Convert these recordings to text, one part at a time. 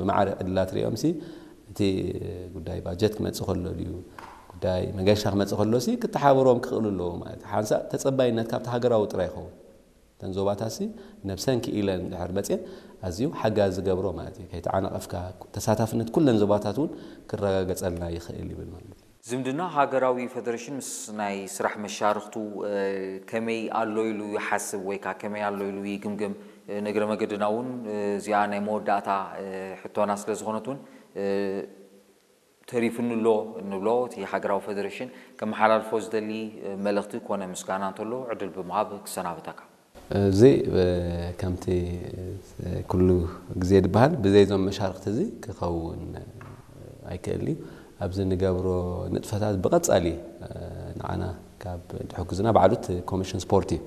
ብማዕረ ዕድላት ሪኦም ሲ እቲ ጉዳይ ባጀት ክመጽእ ከሎ ድዩ ጉዳይ መገሻ ክመጽእ ከሎ ሲ ክተሓባበሮም ክኽእሉ ኣለዎ ማለት ሓንሳእ ተጸባይነት ካብቲ ሃገራዊ ጥራይ ይኸውን። እተን ዞባታት ሲ ነብሰን ክኢለን ድሕር መጽየን ኣዝዩ ሓጋዚ ዝገብሮ ማለት እዩ። ከይተዓናቐፍካ ተሳታፍነት ኩለን ዞባታት እውን ክረጋገጸልና ይኽእል ይብል ማለት እዩ። ዝምድና ሃገራዊ ፈደረሽን ምስ ናይ ስራሕ መሻርኽቱ ከመይ ኣሎ ኢሉ ይሓስብ ወይ ከዓ ከመይ ኣሎ ኢሉ ይግምግም? ንእግረ መገድና እውን እዚኣ ናይ መወዳእታ ሕቶና ስለ ዝኾነት እውን ተሪፉኒ ኣሎ እንብሎ እቲ ሃገራዊ ፈደረሽን ከመሓላልፎ ዝደሊ መልእኽቲ ኮነ ምስጋና እንተሎ ዕድል ብምሃብ ክሰናብተካ። እዚ ከምቲ ኩሉ ግዜ ዝበሃል ብዘይዞም መሻርክቲ እዚ ክኸውን ኣይክእል እዩ። ኣብዚ ንገብሮ ንጥፈታት ብቐጻሊ ንዓና ካብ ድሕግዙና ባዕሉ እቲ ኮሚሽን ስፖርት እዩ።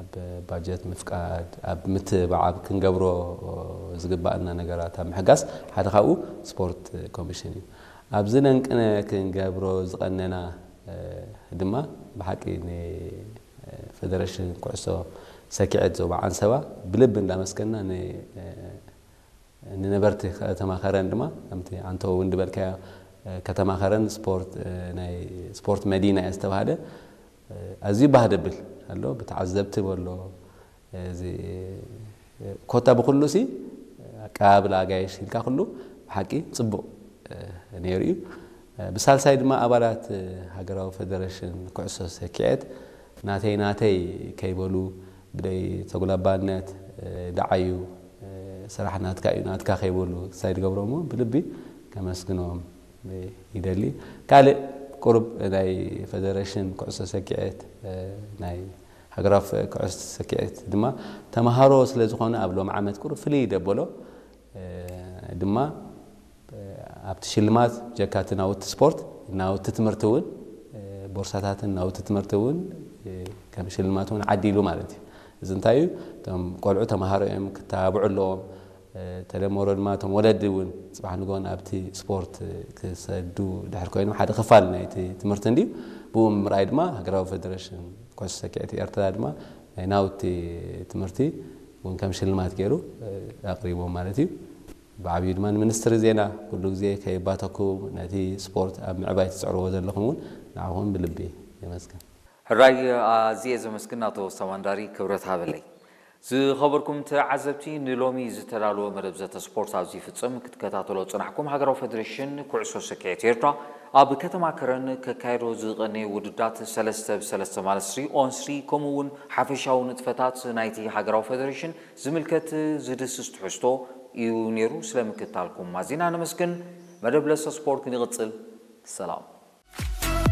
ኣብ ባጀት ምፍቃድ፣ ኣብ ምትብባዕ፣ ኣብ ክንገብሮ ዝግባኣና ነገራት ኣብ ምሕጋዝ ሓደ ካብኡ ስፖርት ኮሚሽን እዩ። ኣብዚ ነንቅነ ክንገብሮ ዝቐነና ድማ ብሓቂ ንፌደሬሽን ኩዕሶ ሰኪዐት ዞባ ዓንሰባ ብልቢ እንዳመስገንና ንነበርቲ ከተማ ከረን ድማ ከምቲ ኣንተ እውን ዝበልካዮ ከተማ ከረን ስፖርት ናይ ስፖርት መዲና እያ ዝተባህለ ኣዝዩ ባህ ደብል ኣሎ ብተዓዘብቲ በሎ እዚ ኮታ ብኩሉ ሲ ኣቀባብላ ኣጋይሽ ኢልካ ኩሉ ብሓቂ ፅቡቕ ነይሩ እዩ። ብሳልሳይ ድማ ኣባላት ሃገራዊ ፌደሬሽን ኩዕሶ ሰኪዐት ናተይ ናተይ ከይበሉ ብደይ ተጉላባነት ደዓዩ ስራሕ ናትካ እዩ ናትካ ከይበሉ ክሳይ ድገብሮሞ ብልቢ ከመስግኖም ይደሊ። ካልእ ቁሩብ ናይ ፌደሬሽን ኩዕሶ ሰኪዐት ናይ ሃገራዊ ኩዕሶ ሰኪዐት ድማ ተምሃሮ ስለ ዝኾነ ኣብ ሎም ዓመት ቁሩብ ፍልይ ደበሎ ድማ ኣብቲ ሽልማት ጀካቲ ናውቲ ስፖርት ናውቲ ትምህርቲ እውን ቦርሳታትን ናውቲ ትምህርቲ እውን ከም ሽልማት እውን ዓዲሉ ማለት እዩ። እዚ እንታይ እዩ? እቶም ቆልዑ ተምሃሮ እዮም ክተባብዑ ኣለዎም። ተደመሮ ድማ እቶም ወለዲ እውን ፅባሕ ንጎን ኣብቲ ስፖርት ክሰዱ ድሕር ኮይኖም ሓደ ክፋል ናይቲ ትምህርቲ እንድዩ። ብኡ ምርኣይ ድማ ሃገራዊ ፌደሬሽን ኩዕሶ ሰኪዐት ኤርትራ ድማ ናይ ናውቲ ትምህርቲ እውን ከም ሽልማት ገይሩ ኣቕሪቦም ማለት እዩ። ብዓብዩ ድማ ንሚኒስትሪ ዜና ኩሉ ግዜ ከይባተኩም ነቲ ስፖርት ኣብ ምዕባይ ትፅዕርዎ ዘለኹም እውን ንዓኹም ብልቢ የመስግን። ሕራይ ኣዝየ ዘመስግን ኣቶ ሰማንዳሪ ክብረት ሃበለይ። ዝኸበርኩም ተዓዘብቲ ንሎሚ ዝተዳለወ መደብ ዘተ ስፖርት ኣብዚ ይፍጽም። ክትከታተሎ ጽናሕኩም ሃገራዊ ፌደሬሽን ኩዕሶ ሰኪዔት ኤርትራ ኣብ ከተማ ከረን ከካየዶ ዝቐነየ ውድዳት ሰለስተ ብሰለስተ ማለት ስሪ ኦን ስሪ ከምኡ እውን ሓፈሻዊ ንጥፈታት ናይቲ ሃገራዊ ፌደሬሽን ዝምልከት ዝድስስ ትሕዝቶ እዩ ነይሩ። ስለ ምክታልኩም ኣዚና ነመስግን። መደብ ለሰ ስፖርት ክንቕጽል ሰላም።